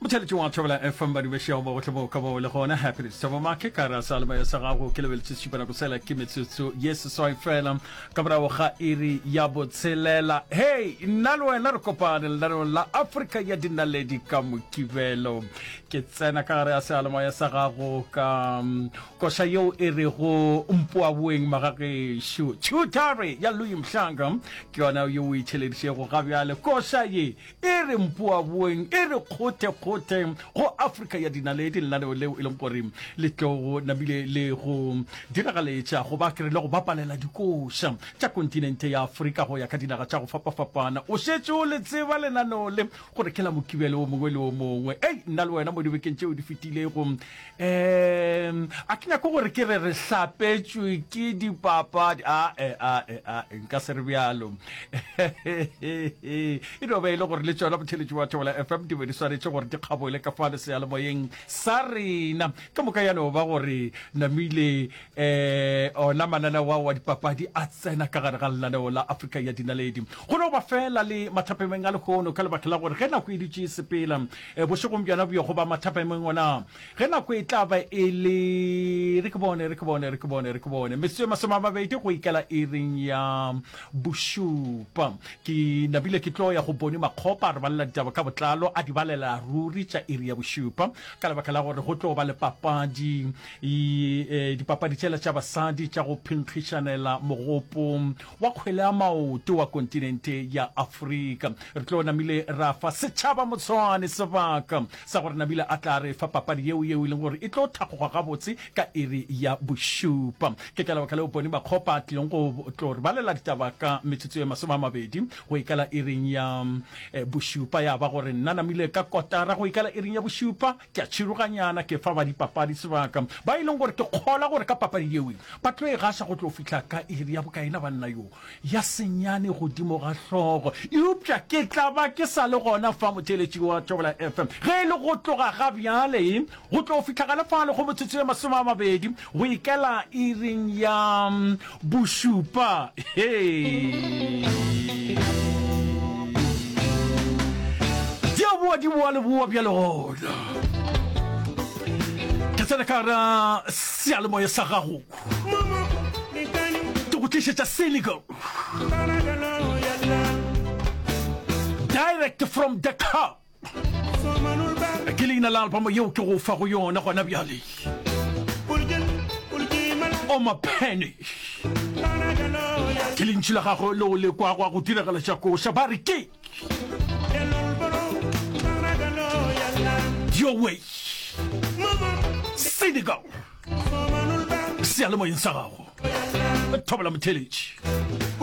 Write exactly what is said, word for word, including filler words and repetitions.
Motheletši wa Thobela F M badumešego mo gohle mo ka mo le gona. Happiness Thabo Make ka ra sa lemoya sa gago ke lebeletše šupa nako sela ke metsotso ye seswai fela ka morago ga iri ya botshelela. Hei, nna le wena re kopane lenaneong la Afrika ya Dinaledi ka Mokibelo. Ke tsena ka gare ya seyalemoya sa gago ka koša yeo e rego Mpoaboeng Magagešo. Tšhutare ya Louis Mhlanga ke yona yeo o e tšheledišego ga bjale. Koša ye e re Mpoaboeng, e re kgothe-kgothe go Afrika ya Dinaledi, lenaneo leo e leng gore le tlo go namile le go diragaletša goba ke re le go bapalela dikoša tša kontinente ya Afrika go ya ka dinaga tša go fapafapana. O šetše o le tseba lenaneo le gore ke la Mokibelo o mongwe le o mongwe. Ei, nna le wena mo dibekeng tšeo di fetilego, um a ke nyako gore ke re re hlapetšwe ke dipapadi. Ae, ae, ae, nka se re bjalo. E no ba e le gore le tšona botheletši wa Thobela F M di be di swanetše gore di kgabole ka fale seyalemoyeng sa rena. Ka moka ya no ba gore namile um ona mananeo ao a dipapadi a tsena ka gare ga lenaneo la Afrika ya Dinaledi. Go no ba fela le mathapemeng a lehono ka lebaka la gore ge nako e dutše e sepela bošegong bjona bjo goba mathapemeng ona ge nako e tla ba e le re ke bone re ke bone re ke bone re ke bone metsotso e masome a mabedi go ikela iring ya bošupa, ke nabile ke tlo ya go bone Makgopa a re balela ditaba ka botlalo, a di balela ruri tša iri ya bošupa ka lebaka la gore go tlo ba le papadi, dipapadi tšela tša basadi tša go phenkgišanela mogopo wa kgwele ya maoto wa kontinente ya Afrika. Re tlo namile ra fa setšhaba Motshwane sebaka sa gore namile a tla re fa papadi yeo yeo e leng gore e tlo thakgoga gabotse ka iri ya bošupa. Ke ka lebaka leo Boni Makgopa a tlileng go tlo re balela ditaba ka metsotso ye masome a mabedi go ikala iring ya bošupa. Ya ba gore nna namile ka kotara go ikala iring ya bošupa, ke a tšhiroganyana ke fa ba dipapadi sebaka ba e leng gore ke kgola gore ka papadi yeo ba tlo e gaša go tlo fihla ka iri ya bokaena banna yo ya senyane godimo ga hlogo. Eupša ke tla ba ke sa le gona fa motheeletši wa Thobela F M ge e le go tloga ga bjale go tlo fihla gale fale go metsotso ye masome a mabedi go ikela iring ya bošupa. Hei! Di a boa, di boa le boa bjale gona. Ke tsena ka gara seyalemoya sa gago. Ke go tlišetša Senegal. Direct from Dakar. Ke leina la album yeo ke go fa go yona gona bjale. Omar Penny. Ke lentšu la gagwe leo le kwago a go diragala tša koša ba re ke Your Way. Senegal. Seyalemoyeng sa gago. Thobela motheeletši.